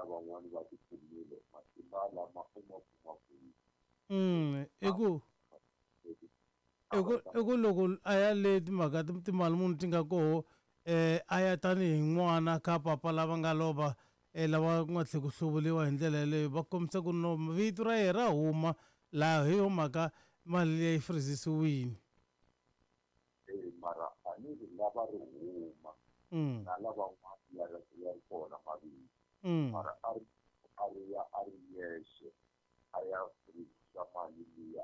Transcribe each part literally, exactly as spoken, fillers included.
lavan'wana va ti kumile matimba lama u ma kuma kwihi? Mm i ku i ku i ku loko a ya le timhaka timali munhu ti nga koho eh a ya tanihi n'wana ka papa lava nga lova eh lava ku nga tlhe ku hluvuriwa hi ndlela yeleyo va kombisa ku no vito ra yena ra huma laha hi yo mhaka mali leyi frizisiwile. Eh mara a ni ri lava ri huma Mm. na lavan'wana ya ri ya ri kona mavito Mm. mara a ri a ri ya a ri yexe a ya frizisa mali liya.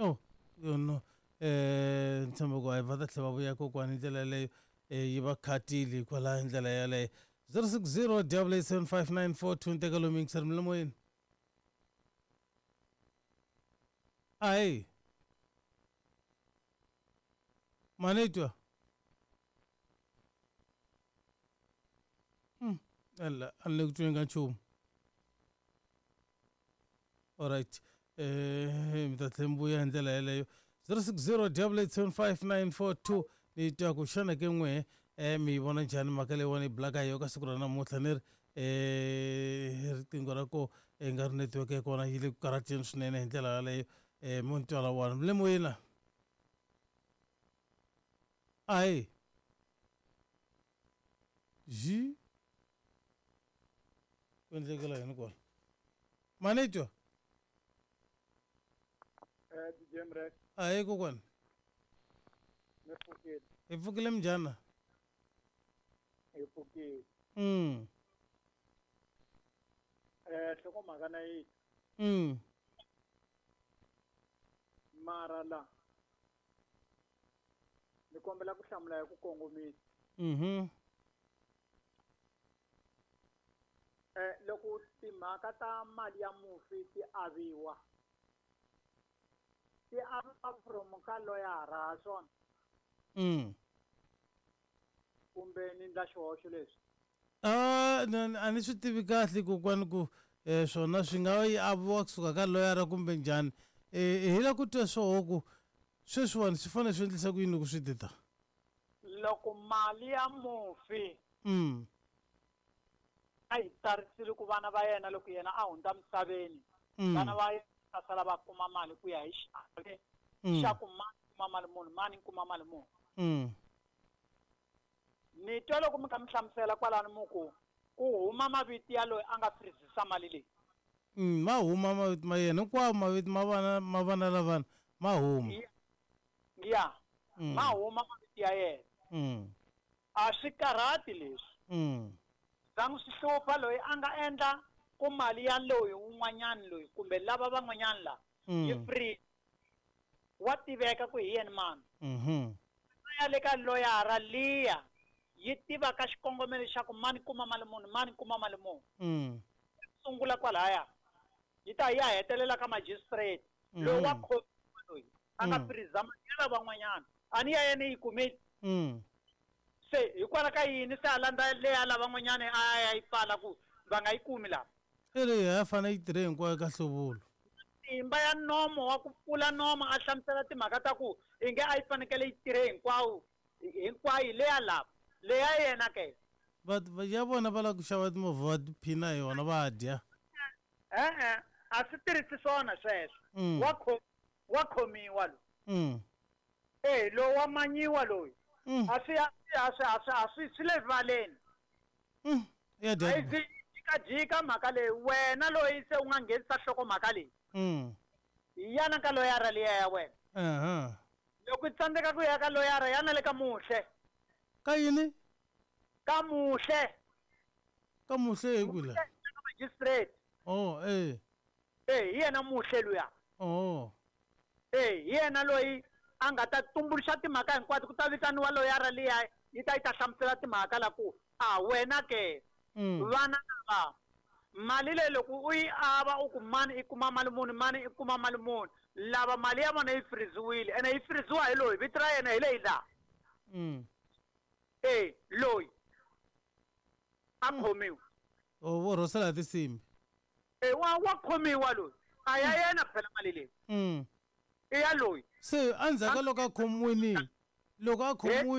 Oh, no eh ntshembo ku a va ta tlhela va vuya kokwani hi ndlela yeleyo eh yi va khatile kwalaho hi ndlela yeleyo zero six zero double eight seven five nine four two nteka lomu yingiseri mi le moyeni ahi manitwa mm ela a ni le ku tweni ka nchumu alright eh mi ta tlhela mi vuya hi ndlela yeleyo zero six zero double eight seven five nine four two ni twa ku xana ke n'we eh mi yi vona njhani mhaka leyiwani yi bulaka hi yo ka siku ra namuntlha ni ri eh riqingho ra ko i nga ri network ya kona yi le ku karhateni swinene hi ndlela yaleyo eh mo ni twa lawani mi le moyeni la ahi ji ku endlekela yini kwala manitwa Eh D J Mrek, ahi kokwani mi pfukile, hi pfukile minjhani hi pfukile. mm Eh nhlokomhaka na yi mm mara la ni kombela ku hlamula hi ku kongomisa. mhm Eh loko timhaka ta mali ya mufi ti aviwa ti aviwa from ka loyara ha swona mm kumbe ni ndla xihoxo leswi? Ah, a ni swi tivi kahle kokwani ku eh swona swi nga yi aviwa kusuka ka loyara kumbe njhani eh hi la ku twa swoho ku sweswiwani swi fanele swi endlisa ku yini loko swi tita Loko mali ya mufi mm a yi tsarisile ku vana va yena loko yena a hundza misaveni mm vana va yena va sala va kuma mali ku ya hi xiave Mm. xa ku mani kuma mali muni mani kuma mali muni. mm Ni twa loko mi kha mi hlamusela kwalano mu ku ku huma mavito ya loyi a nga frizisa mali leyi. mm ma huma mavito ma yena hinkwawo mavito ma vana ma vana lavana ma huma Ya ya Mm. ma huma mavito ya yena. mm A swi karhati leswi. mm Zangi swi hlupha loyi a nga endla ku mali ya loyi un'wanyana loyi kumbe lava van'wanyana la yi mm free wa tiveka ku hi yena mani. mhm Ya le ka loyara liya yi tiva ka xikongomelo xa ku mani kuma mali muni mani kuma mali muni. mm Sungula kwalaya yi ta ya hetelela ka magistrate loyi wa Mhm. khomiwa loyi a nga Mm. freeza mali ya lavan'wanyana a ni ya yena yi kumile mm se hikwalaho ka yini se a landza leya lavan'wanyana a ya yi pfala ku va nga yi kumi lava i ri ya fanele yi tirhe hinkwayo ka hluvulo matimba ya nomo wa ku pfula nomo a hlamusela timhaka ta ku i nge a yi fanekele yi tirhe hinkwawo hinkwayo leya lava leya yena ke va va- ya vona va lava ku xava timovha va tiphina hi yona va dya e-e a swi tirhisi swona sweswo Mm. wa kho wa khomiwa loyi mm e lowu wa manyiwa loyi mm a swi a swi a swi a swi a swi swi le rivaleni mm ya a dya yi zi jikajika mhaka leyi wena loyi se u nga nghenisa nhlokomhaka leyi mm yana ka loyara liya ya wena aha loko i tsandzeka ku ya ka loyara yana le ka muhle ka yini ka muhle ka muhle hi kwihi la ka magistrate oh eh e hi yena muhle luya oh e hi yena loyi a nga ta tumbuluxa timhaka hinkwato ku ta vitaniwa loyara liya yi ta yi ta hlamusela timhaka la ku a wena ke mm vana lava mali leyi loko u yi ava u ku mani i kuma mali muni mani i kuma mali muni lava mali ya vona yi friziwile ene yi friziwa hi loyi vito ra yena hi leyi laha mm e loyi a khomiwa oh vo rhosela hi tinsimbi e wa wa khomiwa loyi a ya yena phela mali leyi mm i ya loyi se endzhaku ka loko a khomiwini loko a khomiwile